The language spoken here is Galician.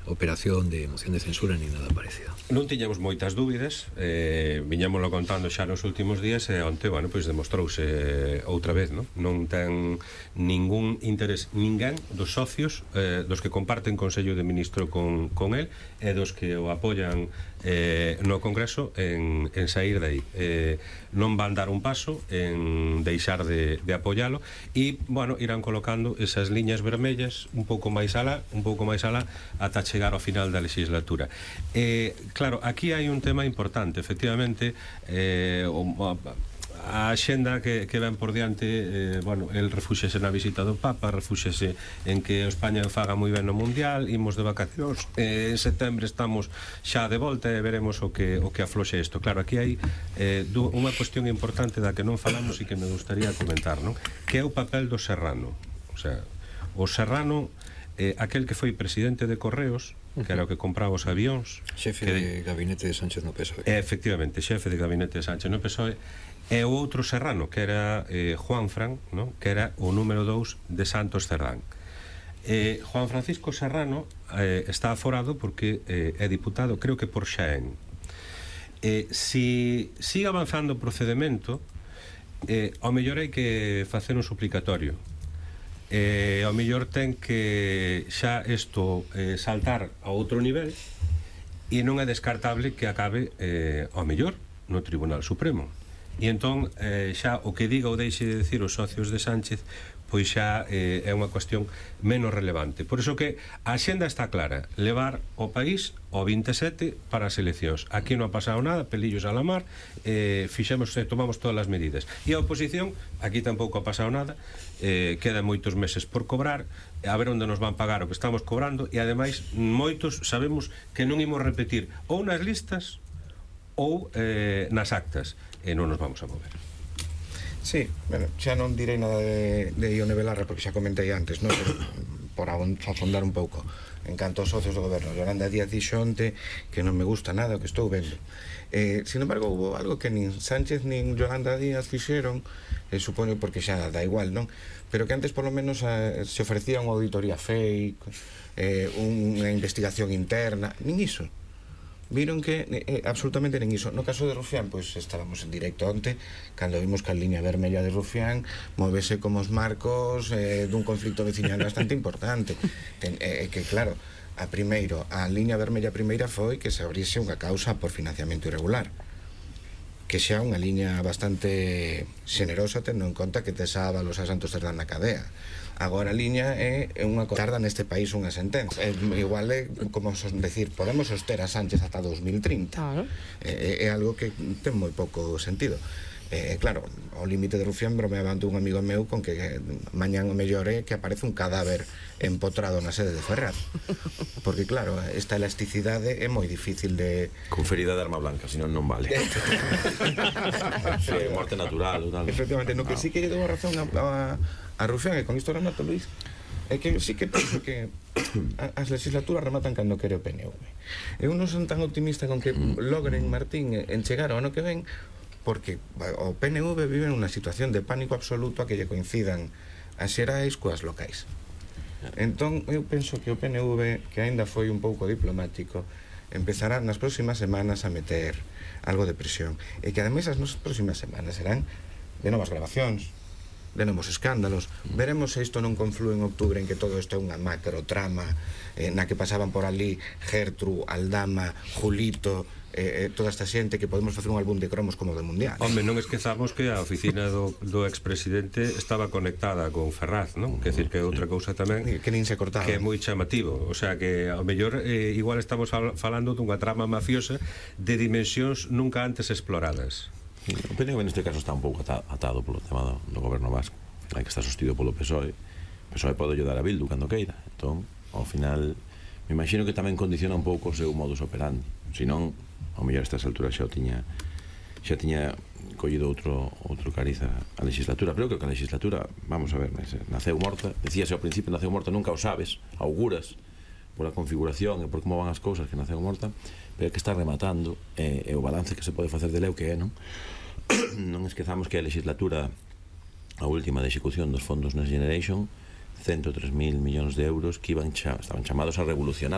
operación de moción de censura ni nada parecido. Non tiñamos moitas dúbidas, viñámoslo contando xa nos últimos días e onte, bueno, pois demostrouse outra vez, non ten ningún interés ninguén dos socios dos que comparten Consello de Ministro con el e dos que o apoian no Congreso en sair de aí. Non van dar un paso en deixar de apoialo e, bueno, irán colocando esas liñas vermellas un pouco máis alá ata chegar ao final da legislatura. Claro, aquí hai un tema importante, efectivamente, a axenda que ven por diante, bueno, el refúxese na visita do Papa, refúxese en que España faga moi ben no Mundial, imos de vacacións, en setembro estamos xa de volta e veremos o que afloxe isto. Claro, aquí hai unha cuestión importante da que non falamos e que me gustaría comentar, non? Que é o papel do Serrano. O sea, o Serrano, aquel que foi presidente de Correos, que era o que compraba os avións, xefe de gabinete de Sánchez no PSOE. Efectivamente, xefe de gabinete de Sánchez no PSOE, e o outro Serrano, que era Juanfran, que era o número 2 de Santos Cerdán. Juan Francisco Serrano está aforado porque é diputado, creo que por Xaén. Si sigue avanzando o procedimento, ao mellor hai que facer un suplicatorio. Ao mellor ten que xa isto saltar a outro nivel e non é descartable que acabe ao mellor no Tribunal Supremo. E entón xa o que diga ou deixe de decir os socios de Sánchez pois xa é unha cuestión menos relevante. Por iso que a axenda está clara, levar o país ao 27 para as eleccións. Aquí non ha pasado nada, pelillos a la mar, tomamos todas as medidas. E a oposición, aquí tampouco ha pasado nada, quedan moitos meses por cobrar, a ver onde nos van pagar o que estamos cobrando, e ademais moitos sabemos que non imos repetir ou nas listas ou nas actas, e non nos vamos a mover. Sí, bueno, xa non direi nada de Ione Belarra porque xa comentei antes, non? Pero por afondar un pouco en canto aos socios do goberno, Yolanda Díaz dixo onte que non me gusta nada o que estou vendo. Sin embargo, hubo algo que nin Sánchez nin Yolanda Díaz fixeron, supoño porque xa da igual, non? Pero que antes polo menos se ofrecía unha auditoría fake, unha investigación interna, nin iso. Viron que absolutamente nin iso. No caso de Rufián, pois estábamos en directo onte cando vimos que a liña vermella de Rufián movese como os marcos dun conflicto veciñal bastante importante. Que claro, a liña vermella primeira foi que se abriese unha causa por financiamento irregular, que xa unha liña bastante xenerosa tendo en conta que tes a Ábalos a Santos Cerdán na cadea. Agora a liña é unha tarda neste país unha sentenza. Igual é, como decir, podemos soster a Sánchez ata 2030. Claro. É algo que ten moi pouco sentido. Claro, ao límite de Rufián bromeaba ante un amigo meu con que mañán o mellor é que aparece un cadáver empotrado na sede de Ferraz, porque claro, esta elasticidade é moi difícil de... Con ferida de arma blanca, senón non vale. Sí, morte natural ou tal. Efectivamente, no que sí que lle dou a razón a Rufián, e con isto remato, Luís, é que sí que penso que as legislaturas rematan cando quere o PNV. Eu non son tan optimista con que logren, Martín, en chegar ao ano que ven, porque o PNV vive nunha situación de pánico absoluto a que lle coincidan as xerais coas locais. Entón, eu penso que o PNV, que aínda foi un pouco diplomático, empezará nas próximas semanas a meter algo de presión. E que ademais as nosas próximas semanas serán de novas grabacións, de novos escándalos. Veremos se isto non conflúe en outubro en que todo isto é unha macro trama na que pasaban por ali Gertru, Aldama, Julito, toda esta xente, que podemos facer un álbum de cromos como do Mundial. Home, non esquezamos que a oficina do expresidente estaba conectada con Ferraz, non? Quer decir que é outra cousa tamén que nin se cortaba, que é moi chamativo. O sea que ao mellor igual estamos falando dunha trama mafiosa de dimensións nunca antes exploradas. O PNV neste caso está un pouco atado polo tema do goberno vasco, hai que estar sostido polo PSOE. O PSOE pode ayudar a Bildu cando queira, entón, ao final me imagino que tamén condiciona un pouco o seu modus operandi, senón, ao mellor a estas alturas xa tiña collido outro cariz a legislatura. Pero que a legislatura, vamos a ver, naceu morta, decíase ao principio, naceu morta, nunca o sabes, auguras pola configuración e por como van as cousas que naceu morta, pero que está rematando, e o balance que se pode facer dele é o que é, non? Non esquezamos que a legislatura, a última de execución dos fondos Next Generation, 103.000 millóns de euros que estaban chamados a revolucionar